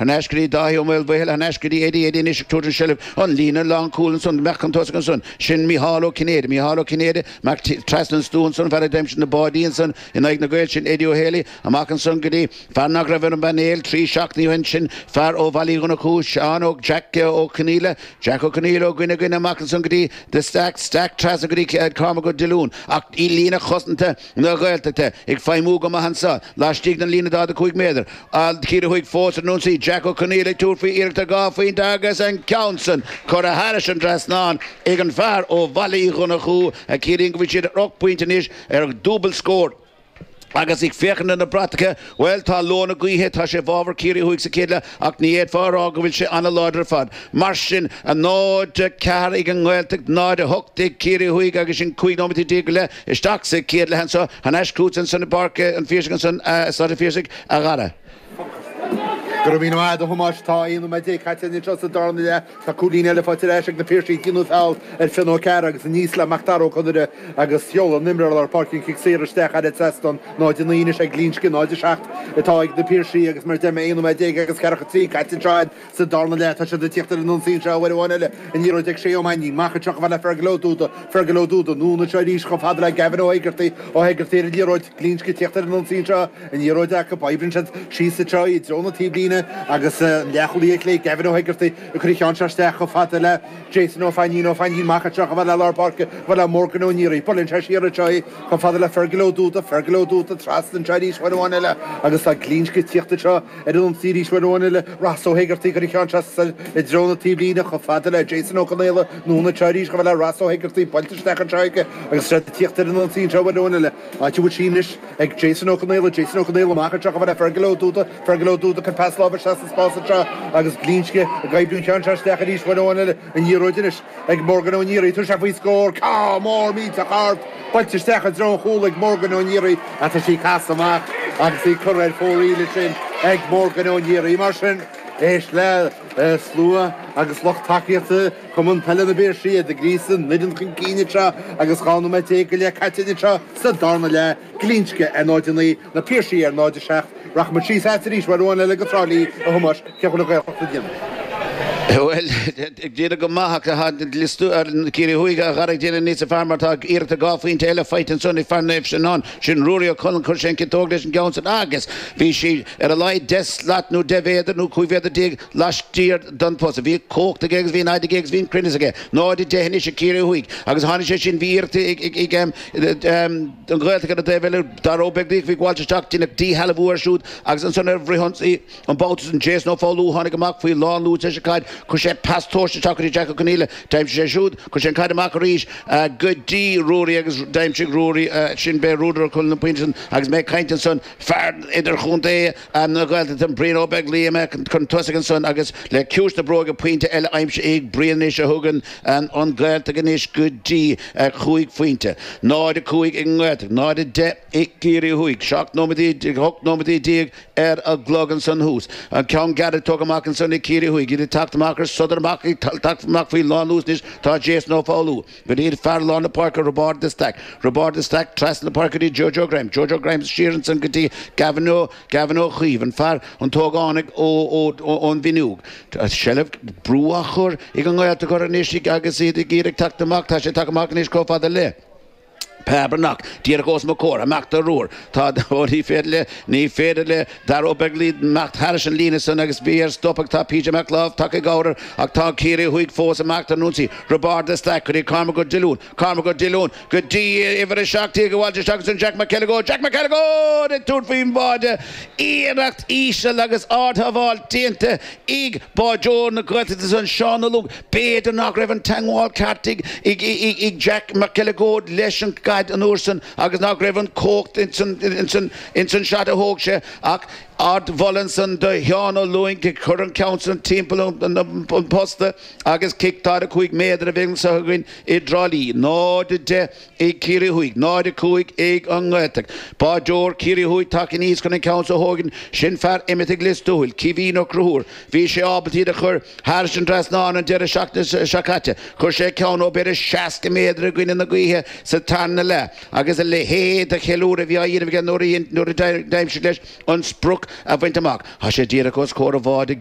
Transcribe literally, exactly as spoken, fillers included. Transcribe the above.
Thar n-ais go dtí Dáithí Ó Maolmhaoil, thar n-ais go dtí Eddie, Eddie anois ag tabhairt an seilbh, an líne lánchúil ansan, amach chun tosaigh ansan, sin Mícheál Ó Cinnéide, Mícheál Ó Cinnéide, amach trasna an stua ansan, fear a d'aimsigh na báidí ansan in aghaidh na Gaeil, sin Eddie Ó Héalaí, amach ansan go dtí fear nach raibh ar an bpainéal trí seachtainí ó shin, sin fear ó Bhaile Uí Dhonnchú, Seán Ó, Jack Ó Conaola, Jack Ó Conaola ó dhuine dhuine amach ansan go dtí de Staic, Staic trasna go dtí Cormac Ó Diolúin, ach i líne chosanta na Gaeltachta ag feidhmiú go maith anso laistigh den líne daichead a cúig méadar. Ciarraí Thuaidh fós ar an ionsaí, Jack Ó Conaola ag tabhairt faoi iarracht ar dhá phointe agus an ceann san curtha thairis an dtrasnán ag an bhfear ó Bhaile Uí Dhonnchú a chiallaíonn go bhfuil siad ar ocht bpointe anois ar dhúbailt scór. Agus ag féachaint ar na bratacha, bhuel, tá leo na gaoithe, tá sé i bhfabhar Ciarraí Thuaidh sa chéad leath ach ní fhéadfá a rá go bhfuil sé an-láidir ar fad. Mar sin, a náid a ceathair ag an nGaeltacht, náid a hocht ag Ciarraí Thuaidh agus sin cúig nóiméad déag go leith isteach sa chéad leath anseo. Thar n-ais chugat ansan i bPáirc an Phiarsaigh ansan, Staid an Phiarsaigh, a Dhara. Go raibh míle maith agat, a Thomáis. Tá aon nóiméad déag caite anseo sa darna leath. Tá cúilín eile faighte ar ais ag na Piarsaigh. Déanadh feall ar Fionn Ó Cearra agus aníos le Macdara Ó Conaire agus sheol an imreoir lár páirce an cic saor isteach thar an trasnán. náid a naoi anois ag Glinsce, náid a seacht atá ag na Piarsaigh agus mar a deir mé aon nóiméad déag agus ceathracha trí caite anseo sa darna leath. Tá siad ag tíocht ar an ionsaí anseo uair amháin eile. An liathróid ag Shay Ó Mainnín. Amach anseo chomh fada le Fergal Ó Dúda. Fergal Ó Dúda anonn anseo arís chomh fada le Gavin Ó hÉigeartaigh. Ó hÉigeartaigh ar an liathróid. Glinsce ag tíocht ar an ionsaí anseo. An liathróid acu. Oibríonn siad síos anseo i dtreo na taobhlíne agus an leathchúlaí ar chlé Gavin Ó hÉigeartaigh ag cur an cheann seo isteach chomh fada le Jason Ó Fainín. Ó Fainín amach anseo chomh fada le lár páirce, chomh fada le Morgan Ó Niaraigh. Buaileann sé siar anseo í chomh fada le Fergal Ó Dúda. Fergal Ó Dúda trasna anseo arís uair amháin eile agus tá Glinsce ag tíocht anseo ar an ionsaí arís uair amháin eile. Ross Ó hÉigeartaigh ag cur an cheann seo soir i dtreo na taobhlíne chomh fada le Jason Ó Conaola. Anonn anseo arís chomh fada le Ross Ó hÉigeartaigh. Buailte isteach anseo aige agus siad ag tíocht ar an ionsaí anseo uair amháin eile. Áit a bhfuil sí anois ag Jason Ó Conaola. Jason Ó Conaola amach anseo chomh fada le Fergal Ó Dúda. Fergal Ó Dúda ag cur pas láimhe isteach sa spás anseo agus Glinsce ag oibriú an ceann seo isteach arís uair amháin eile. An liathróid anois ag Morgan Ó Niaraigh. Tabharfaidh sé faoi scór. Ceann mór millteach ard. Buailte isteach i dtreo an chúil ag Morgan Ó Niaraigh ach tá sí casadh amach agus í curtha ar fóraoil ansin ag Morgan Ó Niaraigh. Mar sin, éist le slua agus lucht tacaíochta Chumann Peile na bPiarsaigh, iad ag gríosadh an fhoireann chun cinn anseo agus dhá nóiméad déag go leith caite anseo sa darna leath, Glinsce ar náid a naoi, Na Piarsaigh ar náid a seacht. Rachaidh muid síos agat arís uair amháin eile go Trá Lí, a Thomáis, cén chaoi a bhfuil an Ghaeltacht ag déanamh? Bhuel, ag déanamh go maith ach tá liostú ar Ciarraí Thuaidh a Dhara ag déanamh níos fearr mar tá iarracht dhá phointe eile faighte ansan ag fear Naomh Seanán, sin Ruairí Ó Conaill, chuir sé an chiotóg leis an gceann san agus bhí sí ar a laghad deich slat nó deich mhéadar nó cúig mhéadar déag laistiar den phosta. Bhí cumhacht aige agus bhí an fhaid aige agus bhí an cruinneas aige. náid a deich anois ag Ciarraí Thuaidh agus tháinig sé sin, bhí iarracht ag an Ghaeltacht ar an dtaobh eile, Dara Ó Beaglaoich, bhí gabháilt isteach, deineadh díshealbhú air siúd agus ansan ar fhrithionsaí an babhta san, Jason Ó Foghlú tháinig amach faoi lán luas leis an gcaid, chuir sé pas tomhaiste isteach go dtí Jack Ó Conaola, d'aimsigh sé siúd, chuir sé an caid amach arís go dtí Ruairí agus d'aimsigh Ruairí, sin b'é Ruairí Ó Conaill an pointe san agus mé ag caint ansan, fear idirchontae na Gaeltachta, Brian Ó Beaglaoich amach chun tosaigh ansan agus le ciumhais na bróige pointe eile aimsithe ag Brian anois a thugann an Ghaeltacht anois go dtí chúig phointe. náid a cúig ag an nGaeltacht, náid a deich ag Ciarraí Thuaidh. Seacht nóiméad, ocht nóiméad déag ar an gclog ansan thuas. An ceann gearr tógtha amach ansan ag Ciarraí Thuaidh. Iad ag teacht amach ar sodar amach, ag teacht amach faoi lánluas anois tá Jason Ó Foghlú. Go dtí fear lár na páirce Roibeárd de Staic. Roibeárd de Staic trasna na páirce go dtí Jojo Grimes. Jojo Grimes siar ansan go dtí Gavin Ó Gavin Ó Caoimh, an fear, an t-ógánach ó ón bhFionnúig. Seilbh, brú á chur ag an nGaeltacht orthu anois agus iad ag iarraidh teacht amach. Tá sé tagtha amach anois chomh fada le. Pa Breathnach, díreach os mo chomhair, amach do Ruair. Tá, ó ní féidir le, ní féidir le Dara Ó Beaglaoich imeacht thairis an líne san agus bhí air stopadh. Tá PJ Mac Láimh tagtha i gcabhair air ach tá Ciarraí Thuaidh fós amach ar an ionsaí. Roibeárd de Staic go dtí Cormac Ó Diolúin. Cormac Ó Diolúin go dtí uimhir a seacht déag a bhailte isteach ansan Jack McElligott. Jack McElligott ag tabhairt faoin mbáide. Iarracht íseal agus ardshábháil déanta ag báideoir na Gaeltachta san, Seán Ó Lúing. B'fhéidir nach raibh an teagmháil ceart ag Jack McElligott leis an gcaid an uair san agus nach raibh an chumhacht ins an shot a thóg sé ach ardmholadh ansan do Sheán Ó Lúing ag cur an ceann san timpeall an posta agus cic daichead a cúig méadar a bheidh anseo againn i dTrá Lí. náid a deich ag Ciarraí Thuaidh, náid a cúig ag an nGaeltacht. Báideoir Ciarraí Thuaidh tagtha aníos chun an ceann so a thógaint, sin fear imithe ag Lios Tuathail, Caoimhín Ó Conchúir. Bhí sé ábalta iad a chur thairis an dtrasnán an deireadh seachtaine seo caite. Chuir sé ceann ó b'fhéidir seasca méadar i gcoinne na gaoithe sa tarna leath agus a leithéid de cheiliúradh a bhí á dhéanamh aige nuair a d'aimsigh leis an sprioc a bhaint amach. Tá sé díreach os comhair an bháid i